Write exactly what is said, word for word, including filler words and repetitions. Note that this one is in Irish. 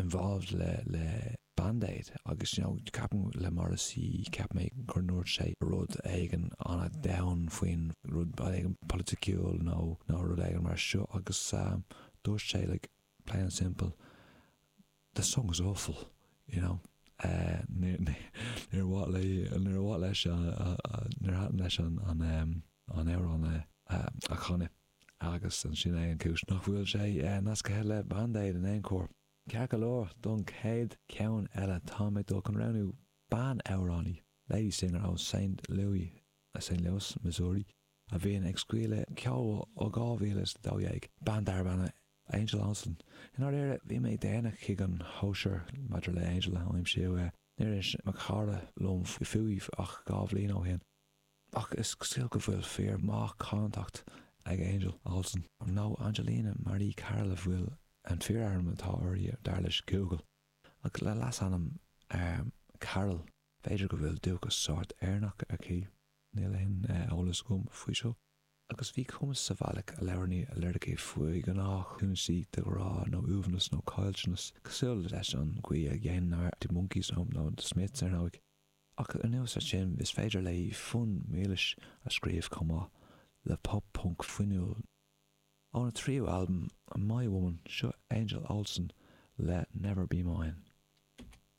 involved le le Band Aid agus you know, ceapaim le Morrissey cheap mé gur ndúirt sé rud éigin an-domhain faoin rud éigin polaitiúil nó nó rud éigin mar seo agus um, dúirt sé like plain and simple the song is awful you know uh, níor mhaith le níor mhaith leis níor thaitin leis an an um, an amhrán a chanadh agus ansin é an cúis nach bhfuil sé nasctha le Band Aid in aon chor. Ceart go leor don chéad cheann eile tá mé dul chun roghnú bean amhránaí, lady singer ó Saint Louis Saint Louis, Missouri, a bhíonn ag scaoileadh ceoil ó dhá mhíle is dó dhéag, bean darb ainm Angel Olsen. I ndáiríre bhí mé déanach chuig an chóisir maidir le Angel a aimsiú níor inis mo chara liom fúithi ach dhá bhliain ó shin. Ach is cosúil go bhfuil fíor maith cantacht ag Angel Olsen. Nó Angelina Marie Carroll a bhfuil an fíorainm atá uirthi dar leis Google. Ach le leasainm um, Carroll b'fhéidir go bhfuil dúchas sórt Éireannach aici níl aon eolas agam faoi seo. Agus bhí cumas sa bhealach a labhraíonn a liricí faoi ghnáthchúinsí de ghrá nó uaigneas nó caillteanas cosúil leis an gcaoi a dhéanann The Monkees nó nó The Smiths ar ndóigh. Ach anuas air sin is féidir léi fonn mílis a scríobh chomh maith le pop punk fuinniúil. Óna tríú albam My Woman seo Angel Olsen le Never Be Mine.